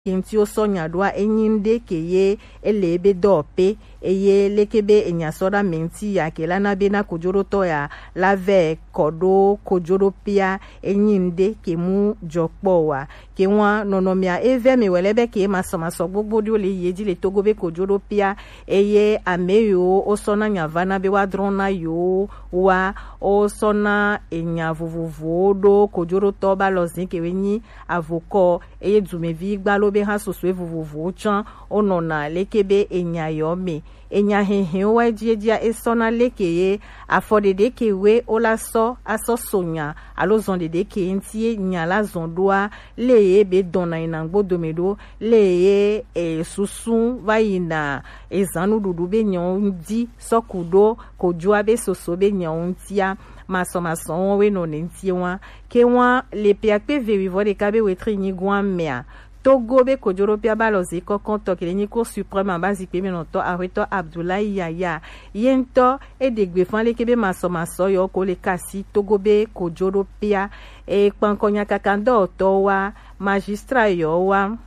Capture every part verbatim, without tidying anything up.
Ke ŋuti wo sɔ nya ɖoa, enyi ŋɖe ke ye ele ebe dɔ pe, eye leke be enya sɔ ɖo ame ŋuti ya ke la na be na kojoɖotɔ ya la vɛ kɔ ɖo kojoɖopea, enyi ŋɖe ke mu jɔ kpɔ wa. Ke wa nɔnɔmea e vɛ mi wɛ lɛ be ke masɔmasɔ gbogbo ɖewo le yi edzi le Togo be kojoɖopea, eye ame yiwo wo sɔ na nya va na be wa drɔ na yewo wa, wo sɔ na enya vovovowo ɖo kojoɖotɔ ba lɔ zin ke we nyi avokɔ, eye dumevi gba lo be ha sosoe vovovowo tsã wonɔna leke be enya yɔ me. Enya hehewo wa edziedzia esɔna leke ye afɔ ɖeɖe ke we wola sɔ asɔ so nya alo zɔn ɖeɖe ke ŋuti ye nya la zɔn ɖoa, le ye be dɔna yina ŋgbo dome ɖo, le ye e, susu va yina ezan nuɖuɖu be nyawo ŋdi sɔ ku ɖo kojoa be soso be nyawo ŋtia, masɔmasɔ wɔn we nɔ ne ŋtie wa. Ke wa le piakpe ve wivɔ ɖeka be wetri nyigoa mea, Togo be kojoɖopea ba lɔ ze kɔkɔntɔ ke le nyi Cour suprême aba zikpe me nɔtɔ ahwetɔ Abdoulaye Yaya ye ŋutɔ e ɖe gbe fan leke be masɔmasɔ yɔ ko le kasi Togo be kojoɖopea. E kpankɔ nya kakandɔtɔ wa, magistrat yɔ wa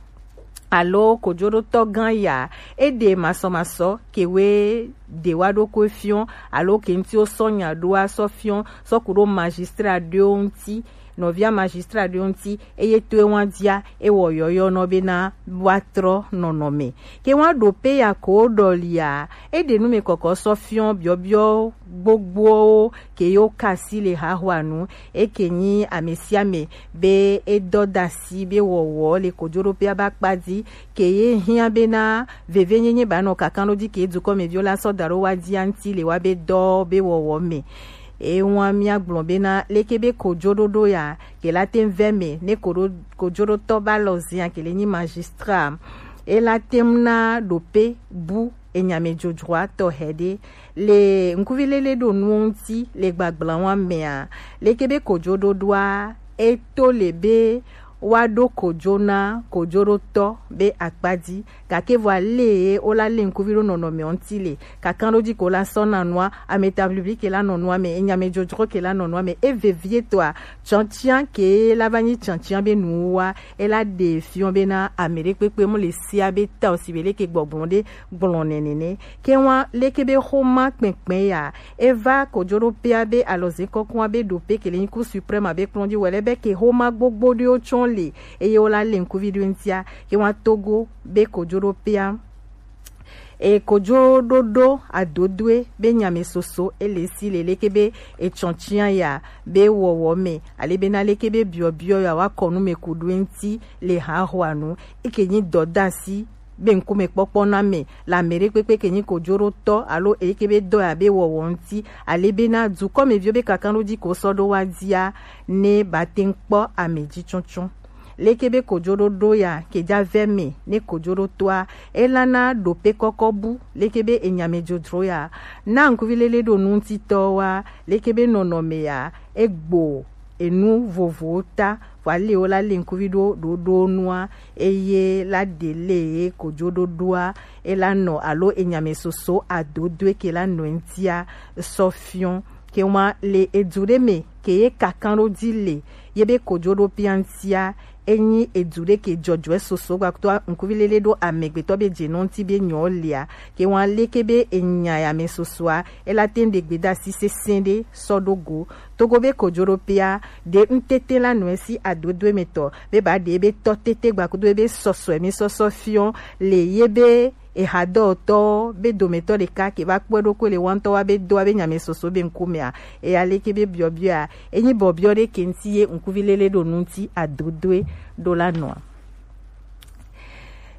alo kojoɖotɔ gã ya, e ɖe masɔmasɔ ke we ɖe wa ɖo ko fiɔ alo ke ŋuti wo sɔ nya ɖoa sɔ fiɔ sɔ ku ɖo magistrat ɖewo ŋuti, nɔvia magistrat ɖewo ŋuti, eye to ewa dzia, ewɔ yɔyɔ nɔ be na wa trɔ nɔnɔme. Ke wa ɖo pe ya ko ɖɔlia, e ɖe nu me kɔkɔ sɔ fiɔ biɔbiɔ gbogbowo ke yo kasi le hahoa nu, e ke nyi ame sia ame be e dɔ da si be wɔwɔ le kojoɖopea ba kpa di, ke ye hiã be na vevenyenye ba nɔ kakan ɖo di ke dukɔmeviwo la sɔ da ɖo wa dia ŋuti le wa be dɔ be wɔwɔ me. Ewa mia gblɔ be na leke be kojoɖoɖo ya ke la te vɛ me ne koɖo kojoɖotɔ ba lɔ zia ke le nyi magistrat, e la te na ɖo pe bu enyamedzodzroa tɔ hɛ ɖe le ŋkuvi lele ɖo nuwo ŋuti le gbagblawa mea, leke be kojoɖoɖoa e to le be wa ɖo kojo na kojoɖotɔ be akpa di, gake vɔ ale ye wo la le ŋkuvi ɖo nɔnɔme ŋuti le kakan ɖo di ko la sɔ na nua, ame ta blibli ke la nɔ nua me, enyamedzodzro ke la nɔ nua me, e vevie tɔa, tsɔntsian ke la va nyi tsɔntsian be nuwa, e la ɖe fiɔ be na ame ɖe kpekpe mu le sia be ta o si be leke gbɔgblɔ ɖe gblɔ nɛnɛ nɛ. Ke wa leke be xoma kpɛnkpɛn ya, e va kojoɖopea be alɔze kɔkɔa be ɖo pe ke le nyi Cour suprême abe kplɔn di wɛ lɛ be ke xoma gbogbo ɖewo tsɔ le, eye wo la le ŋkuvi ɖo ŋutia, ke wa Togo be kojoɖopea. E kojoɖoɖo adodoe be nyame soso e le si le leke be etsɔntsian ya be wɔwɔ me, ale be na leke be biɔbiɔ ya wa kɔ nu me ku ɖo ŋuti le hahoa nu, eke nyi dɔdasi be ŋkumekpɔkpɔ na me le ame ɖe kpekpe ke nyi kojoɖotɔ alo eke be dɔ ya be wɔwɔ ŋuti, ale be na dukɔmeviwo be kakan ɖo di ko sɔ ɖo wa dia ne ba te ŋ kpɔ ame ji tsɔtsɔ. Leke be kojoɖoɖo ya ke ja vɛ me ne kojoɖotɔa, e la na ɖo pe kɔkɔ bu leke be enyame drodro ya na ŋkuvi lele ɖo nu ŋutitɔ wa, leke be nɔnɔme ya e gbo enu vovowo ta, vɔ ale wo la le ŋkuvi ɖo ɖoɖo nua, eye la ɖe le ye kojoɖoɖoa, e la nɔ alo enyame soso adodoe ke la nɔ ŋutia sɔ fiɔ. Ke wa le edu ɖe me ke ye kakan ɖo di le ye be kojoɖopea ŋutia, enyi edu ɖe ke jɔjɔɛ soso gbakuto ŋkuvi lele ɖo amegbetɔ be je nɔ ŋuti be nyɔ lea, ke wa leke be enya ya me sosoa, e la te ŋ ɖe gbedasi sese ɖe sɔ ɖo go. Togo be kojoɖopea ɖe ŋtete la nɔe si adodoe me tɔ be ba ɖe be tɔ tete gbakudo be sɔsɔe mi sɔsɔ fiɔ le ye be eha dɔwɔtɔ be dometɔ ɖeka ke va kpɔe ɖo ko le wantɔ wa be do wa be nyame soso be ŋkumea, eya leke be biɔbiɔa, enyi bɔbiɔ ɖe ke ŋuti ye ŋkuvi lele ɖo nu ŋuti adodoe ɖo la nɔa.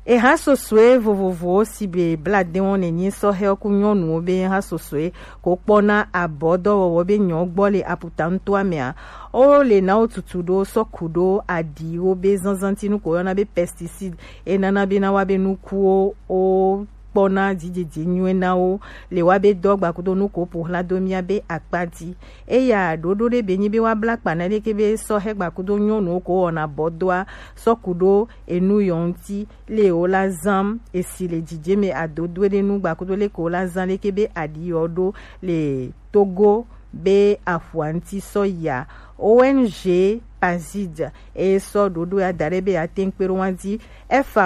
Eha sosoe vovovowo si be bla de wɔn nenyi sɔhɛ ku nyɔnuwo be ha sosoe ko kpɔna abɔ dɔwɔwɔ be nyɔ gbɔ le aputa ŋutɔa mea, wo le na wo tutu ɖo sɔ ku ɖo aɖiwo be zanzanti nu ko yɔna be pesticide, e nana be na wa be nukuwo wo kpɔna dzidzedze nyuie na wo le wa be dɔ gbakudo nu ko ƒo xla do mia be akpa dzi. Eya ɖoɖo ɖe be nyi be wa bla kpa na leke be sɔhɛ gbakudo nyɔnuwo ko wɔna bɔ doa sɔ ku ɖo enu yɔ ŋuti le wo la zam esi le dzidze me adodoe ɖe nu gbakudo leke wo la zam leke be aɖi yɔ ɖo le Togo be aƒua ŋuti sɔ yia. O N G Pazid, eye sɔ ɖoɖo ya da ɖe be yeate ŋu kpe ɖo wa ji. F A O